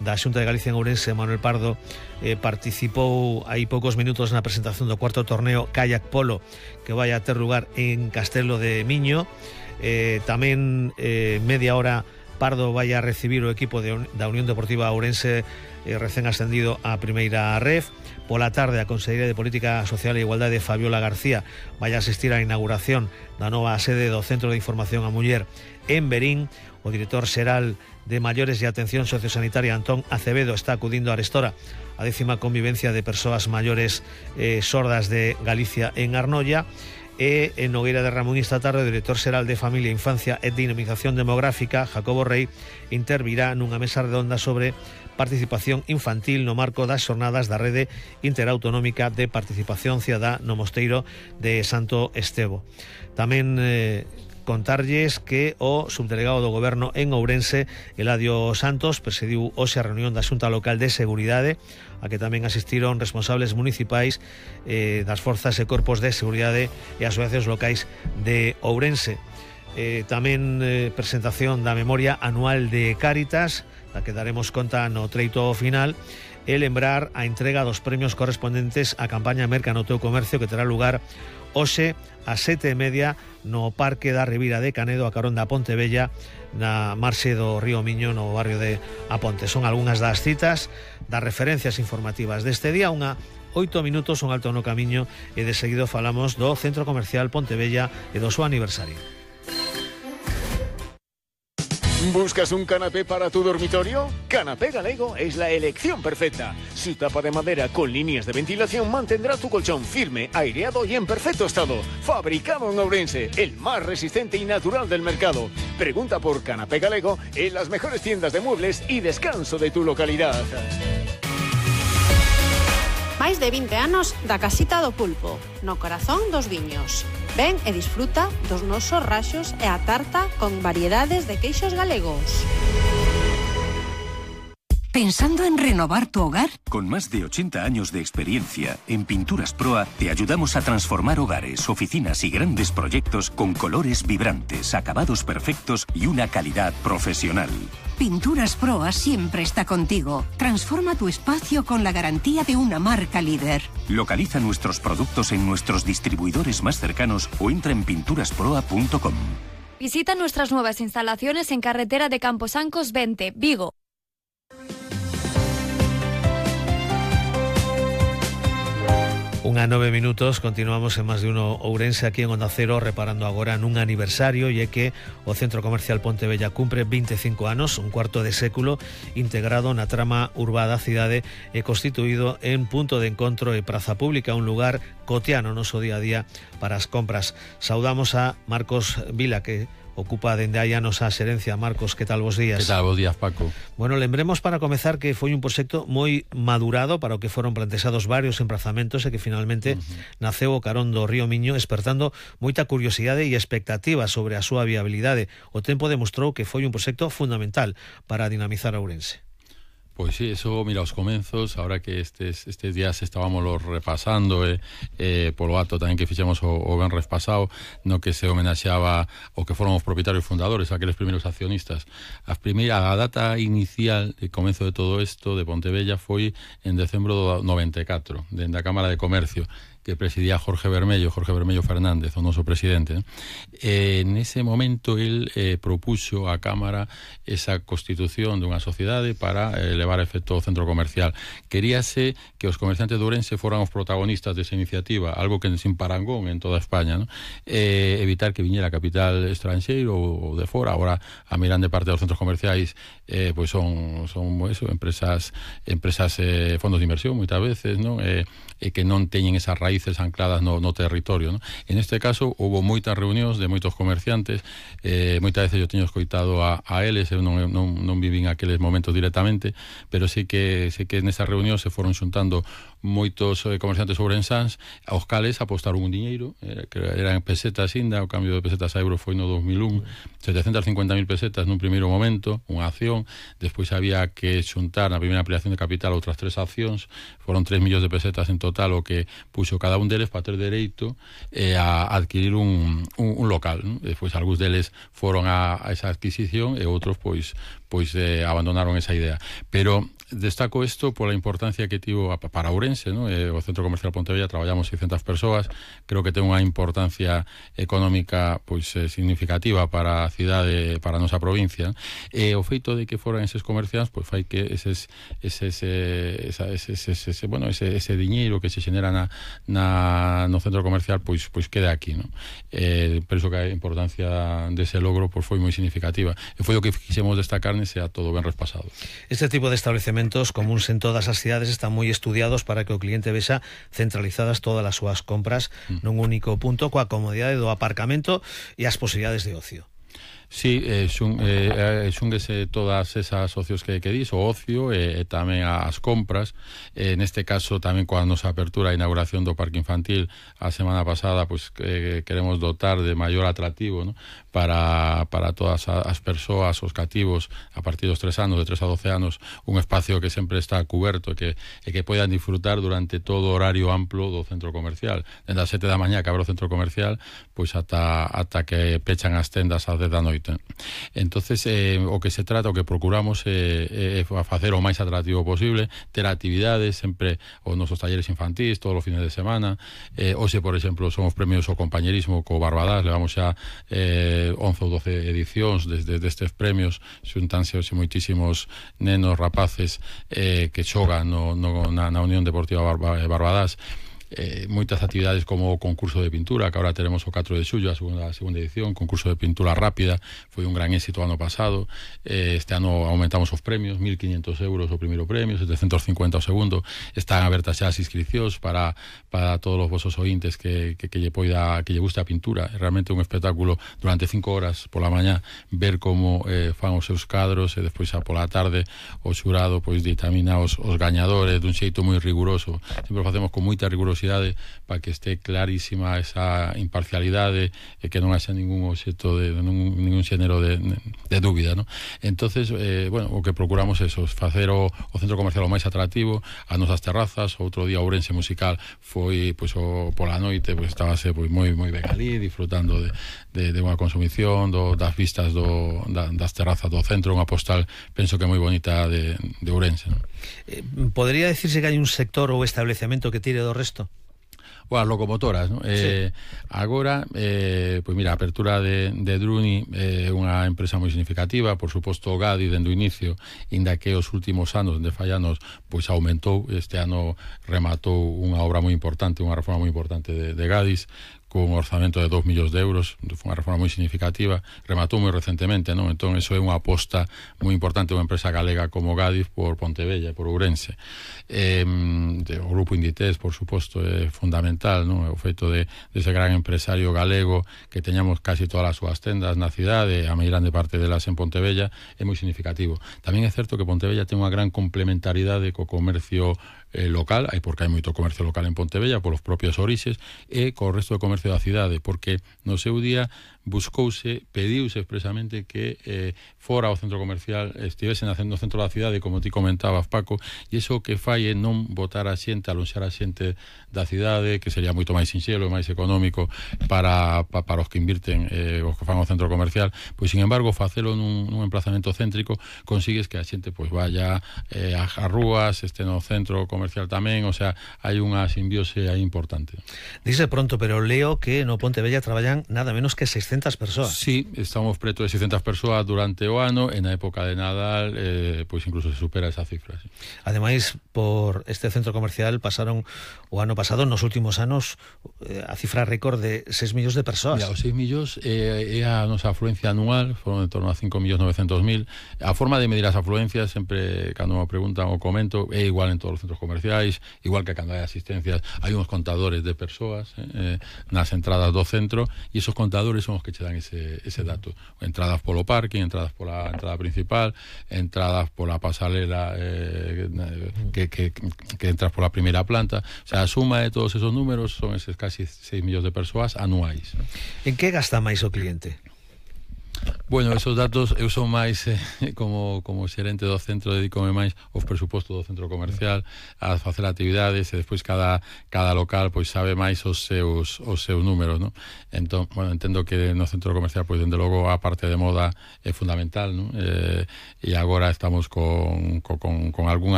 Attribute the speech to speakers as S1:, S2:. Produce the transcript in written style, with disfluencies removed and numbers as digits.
S1: da Xunta de Galicia en Ourense, Manuel Pardo, participou hai poucos minutos na presentación do cuarto torneo Kayak Polo que vai a ter lugar en Castelo de Miño. Tamén media hora Pardo vai a recibir o equipo da Unión Deportiva Ourense recén ascendido á primeira ref. Pola tarde a Conselleira de Política Social e Igualdade, Fabiola García, vai a asistir á inauguración da nova sede do Centro de Información á Muller en Verín. O director xeral de Maiores e Atención Sociosanitaria, Antón Acevedo, está acudindo a arestora a 10ª convivencia de persoas maiores sordas de Galicia en Arnoia. E en Nogueira de Ramón esta tarde o director xeral de Familia, Infancia e Dinamización Demográfica, Jacobo Rey, intervirá nunha mesa redonda sobre participación infantil no marco das xornadas da Rede Interautonómica de Participación Cidadá no Mosteiro de Santo Estevo. Tamén contarlles que o subdelegado do Goberno en Ourense, Eladio Santos, presidiu hoxe a reunión da Xunta Local de Seguridade, a que tamén asistiron responsables municipais das forzas e corpos de seguridade e asociacións locais de Ourense. Tamén presentación da memoria anual de Cáritas, da que daremos conta no treito final, e lembrar a entrega dos premios correspondentes á campaña Merca no teu comercio, que terá lugar hoxe ás 7:30 no Parque da Ribira de Canedo, a carón da Ponte Vella, na marxe do río Miño, no barrio de Aponte. Son algunhas das citas, das referencias informativas deste día. 8 minutos, un alto no camiño, e de seguido falamos do Centro Comercial Ponte Vella e do seu aniversario.
S2: ¿Buscas un canapé para tu dormitorio? Canapé Galego es la elección perfecta. Su tapa de madera con líneas de ventilación mantendrá tu colchón firme, aireado y en perfecto estado. Fabricado en Ourense, el más resistente y natural del mercado. Pregunta por Canapé Galego en las mejores tiendas de muebles y descanso de tu localidad.
S3: Máis de 20 anos da Casita do Pulpo, no corazón dos viños. Ven e disfruta dos nosos raxos e a tarta con variedades de queixos galegos.
S4: ¿Pensando en renovar tu hogar?
S5: Con más de 80 años de experiencia, en Pinturas Proa te ayudamos a transformar hogares, oficinas y grandes proyectos con colores vibrantes, acabados perfectos y una calidad profesional.
S4: Pinturas Proa siempre está contigo. Transforma tu espacio con la garantía de una marca líder.
S5: Localiza nuestros productos en nuestros distribuidores más cercanos o entra en pinturasproa.com.
S6: Visita nuestras nuevas instalaciones en carretera de Camposancos 20, Vigo.
S1: Unha 9 minutos, continuamos en Más de Uno Ourense aquí en Onda Cero, reparando agora nun aniversario, e é que o Centro Comercial Ponte Vella cumpre 25 anos, un cuarto de século integrado na trama urbá da cidade e constituído en punto de encontro e praza pública, un lugar cotiano no noso día a día para as compras. Saudamos a Marcos Vila, que ocupa dende hai anos a xerencia. Marcos, que tal, bos días?
S7: Que tal, bos días, Paco?
S1: Bueno, lembremos para comezar que foi un proxecto moi madurado para o que foron plantexados varios emprazamentos e que finalmente naceu o carón do río Miño, espertando moita curiosidade e expectativa sobre a súa viabilidade. O tempo demostrou que foi un proxecto fundamental para dinamizar a Ourense.
S7: Pois sí, eso, mira, os comenzos, ahora que estes días estábamos los repasando polo acto tamén que fixemos o venres pasado, no que se homenaxeaba o que foron os propietarios fundadores, aqueles primeiros accionistas. A data inicial de comenzo de todo isto de Pontevella foi en decembro do 94, dende a Cámara de Comercio, que presidía Jorge Bermello Fernández, o noso presidente. En ese momento el propuxo á Cámara esa constitución dunha sociedade para levar a efecto o centro comercial. Queríase que os comerciantes de Ourense foran os protagonistas desa iniciativa, algo que sin parangón en toda España, ¿no? Evitar que viñera capital estranxeiro ou de fora. Agora a grande parte dos centros comerciais pois son eso, empresas fondos de inversión moitas veces, ¿no? Que non teñen esas raíces ancladas no territorio, ¿no? En este caso houve moitas reunións de moitos comerciantes, moitas veces eu teño escoitado a eles, eu non vivín aqueles momentos directamente, pero sí que nesas reunións se foron xuntando moitos comerciantes ourensáns, aos cales apostaron un diñeiro, que eran pesetas inda, o cambio de pesetas a euros foi no 2001, 750.000 pesetas nun primeiro momento, unha acción, despois había que xuntar na primeira ampliación de capital outras 3 accións, foron 3 millóns de pesetas en total o que puxo cada un deles para ter dereito a adquirir un local, non? Despois algúns deles foron a esa adquisición e outros pois abandonaron esa idea. Pero destaco isto pola importancia que tivo para Ourense, ¿no? O Centro Comercial Pontevella traballamos 600 persoas, creo que ten unha importancia económica pois significativa para a cidade, para a nosa provincia, e o feito de que foran eses comerciantes pois fai que ese diñeiro que se xenera no centro comercial pois quede aquí, ¿no? Penso que a importancia dese logro pois foi moi significativa e foi o que quixemos destacar nese acto do venres pasado.
S1: Este tipo de establecementos comuns en todas as cidades están moi estudiados para que o cliente vexa centralizadas todas as súas compras nun único punto, coa comodidade do aparcamento e as posibilidades de ocio.
S7: Sí, xúnguese todas esas ocios que dis, o ocio e tamén as compras. Neste caso tamén coa nosa apertura e inauguración do parque infantil a semana pasada, pois queremos dotar de maior atractivo, ¿no? para todas as persoas, os cativos a partir dos 3 anos, de 3 a 12 anos, un espacio que sempre está cuberto e que poidan disfrutar durante todo o horario amplo do centro comercial, desde as 7 da mañá que abre o centro comercial pois ata que pechan as tendas ás 10 da noite. Entonces o que se trata, o que procuramos é facer o máis atractivo posible, ter actividades sempre, os nosos talleres infantís todos os fines de semana. Hoxe, por exemplo, somos premios ao compañerismo co Barbadas, levamos xa 11 ou 12 edicións desde estes premios, xuntanse hoxe moitísimos nenos, rapaces que xogan na Unión Deportiva Barbadas. Moitas actividades como o concurso de pintura, que agora teremos o 4 de xullo, a segunda edición, concurso de pintura rápida, foi un gran éxito ano pasado. Este ano aumentamos os premios, 1.500 euros o primeiro premio, 750 o segundo. Están abertas xa as inscripcións para todos os vosos ointes que lle guste a pintura. É realmente un espectáculo durante 5 horas pola mañá ver como fan os seus cadros e despois xa pola tarde o xurado pois ditamina os gañadores dun xeito moi riguroso. Sempre facemos con moita rigurosidade para que esté clarísima esa imparcialidade e que non haxa ningún obxecto ningún xénero de dúbida, ¿no? Entonces, o que procuramos é facer o centro comercial o máis atractivo, as nosas terrazas. Outro día Ourense Musical foi pola noite, estábase moi ben ali disfrutando de unha consumición das vistas das terrazas do centro, unha postal penso que moi bonita de Ourense, ¿no?
S1: Podría decirse que hai un sector ou establecemento que tire do resto?
S7: As locomotoras, ¿no?
S1: Sí.
S7: Agora, pois mira, a apertura de Druni é unha empresa moi significativa, por suposto o Gadi dende o inicio, inda que os últimos anos, de fallanos, pois aumentou. Este ano rematou unha obra moi importante, unha reforma moi importante de Gadis, con un orzamento de 2 millóns de euros, foi unha reforma moi significativa, rematou moi recentemente, non? Entón, eso é unha aposta moi importante de unha empresa galega como Gadis por Pontevella, por Ourense. O grupo Inditex, por suposto, é fundamental, non? O feito de ese gran empresario galego que teñamos casi todas as súas tendas na cidade, a máis grande parte delas en Pontevella, é moi significativo. Tamén é certo que Pontevella ten unha gran complementariedade co comercio local, porque hai moito comercio local en Pontevella polos propios orixes, e co resto de comercio da cidade, porque no seu día pediuse expresamente que fora o centro comercial estivese no centro da cidade, como ti comentabas, Paco, e iso que fai é non botar a xente, alonxar a xente da cidade, que sería moito máis sinxelo e máis económico para os que invirten, os que fan o centro comercial. Pois, sin embargo, facelo nun emplazamento céntrico, consigues que a xente pois vaya ás rúas, este no centro comercial tamén, o sea, hai unha simbiose aí importante.
S1: Dice pronto, pero leo que no Pontevella traballan nada menos que 600 persoas.
S7: Sí, estamos preto de 600 persoas durante o ano, e na época de Nadal pois incluso se supera esa cifra, sí.
S1: Ademais, por este centro comercial pasaron o ano pasado, nos últimos anos, a cifra récord de 6 millóns de persoas.
S7: Mira, os 6 millóns é a nosa afluencia anual, foron en torno a 5.900.000. A forma de medir as afluencias, sempre cando me preguntan o comento, é igual en todos os centros comerciais, igual que cando hai asistencias, hai uns contadores de persoas nas entradas do centro, e esos contadores son os que che dan ese dato. Entradas polo parking, entradas pola entrada principal, entradas pola pasalela que entras pola primeira planta. O sea, a suma de todos esos números son eses casi 6 millóns de persoas anuais.
S1: En que gasta máis o cliente?
S7: Bueno, esos datos eu son máis como xerente do centro, dedícome máis aos presupostos do centro comercial, a facer actividades, e despois cada local pois sabe máis os seus números, ¿no? Entón, bueno, entendo que no centro comercial pois dende logo a parte de moda é fundamental, ¿no? E agora estamos con algunha